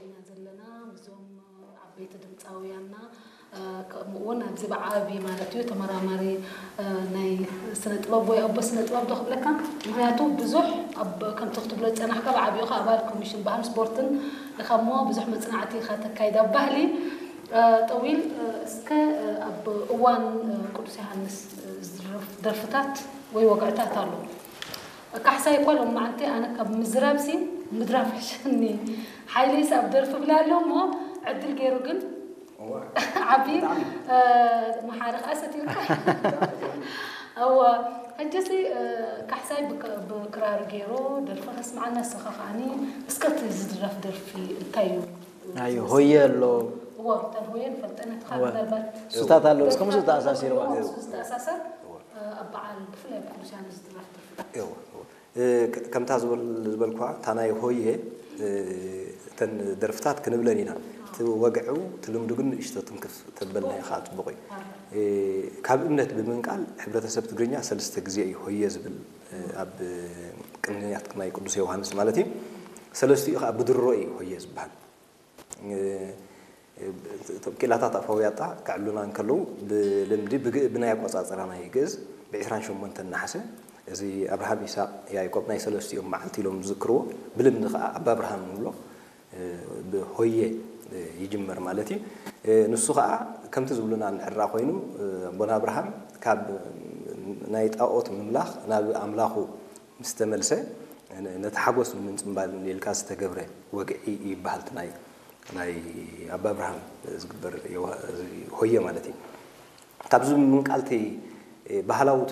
ኢና ዘለና ምስዞም ዓበይቲ ድምፃውያንና፣ ከምኡ እውን ኣብዚ ብዓቢ ማለት እዩ ተመራማሪ ናይ ስነ ጥበብ ወይ ኣቦ ስነ ጥበብ ዶ ክብለካ? ምክንያቱ ብዙሕ ኣብ ከምቲ ክትብሎ ዝፀናሕካ ብዓቢኡ ከዓ ኣባል ኮሚሽን ባህል ስፖርትን ኢኻ እሞ ብዙሕ መፅናዕቲ ኢኻ ተካይድ ኣብ ባህሊ ጠዊል እስከ ኣብ እዋን ቅዱስ ዮሃንስ ዝድረፍ ደርፍታት ወይ ወግዕታት ኣሎ። ካሕሳይ እኳ ሎም መዓልቲ ኣነ ካብ ምዝራብሲ ምድራፍ ሕሸኒ። ሓይለይስ ኣብ ደርፊ ብላ ኣሎ እሞ ዕድል ገይሩ ግን ዓቢ መሓሪ ከዓ ሰቲልካ። እወ ሕጅሲ ካሕሳይ ብክራር ገይሩ ደርፊ ከስምዓና ንስኻ ከዓኒ እስከ እቲ ዝድረፍ ደርፊ እንታይ እዩ? ኣዩ ሆየ ኣሎ። እወ እተን ሆየ ንፈልጠን እቲ ካብ ምናልባት ሱታት ኣሎ እስከ ምስኡ ተኣሳሲርዋ። ዝተኣሳሰር ኣብ በዓል ብፍላይ ኣብ ቅዱስ ዮሃንስ ዝድረፍ ደርፊ ከምታ ዝበልኳ እታ ናይ ሆየ እተን ደርፍታት ክንብለን ኢና። እቲ ወግዑ እቲ ልምዱ ግን ንእሽቶ ትንክፍ ተበልና ኢኻ ጽቡቕ እዩ። ካብ እምነት ብምንቃል ሕብረተሰብ ትግርኛ ሰለስተ ግዜ እዩ ሆየ ዝብል ኣብ ቅንያት ናይ ቅዱስ ዮሃንስ ማለት እዩ። ሰለስቲኡ ከዓ ብድሮ እዩ ሆየ ዝበሃል። እቶም ኪላታት ኣፋውያጣ ከዕሉና እንከለዉ ብልምዲ ብናይ ኣቆፃፅራ ናይ ግእዝ ብ28 ነሓሰ እዚ ኣብርሃም ኢሳቅ ያዕቆብ ናይ ሰለስቲኦም መዓልቲ ኢሎም ዝዝክርዎ ብልምዲ ከዓ ኣባ ኣብርሃም ንብሎ ብሆየ ይጅመር ማለት እዩ። ንሱ ከዓ ከምቲ ዝብሉና እንድሕራ ኮይኑ ኣቦና ኣብርሃም ካብ ናይ ጣኦት ምምላኽ ናብ ኣምላኹ ምስ ተመልሰ ነቲ ሓጎስ ንምንፅምባል ኢልካ ዝተገብረ ወግዒ ይበሃል። ናይ ናይ ኣባ ኣብርሃም ዝግበር ሆየ ማለት እዩ። ካብዚ ምንቃልቲ ባህላዊ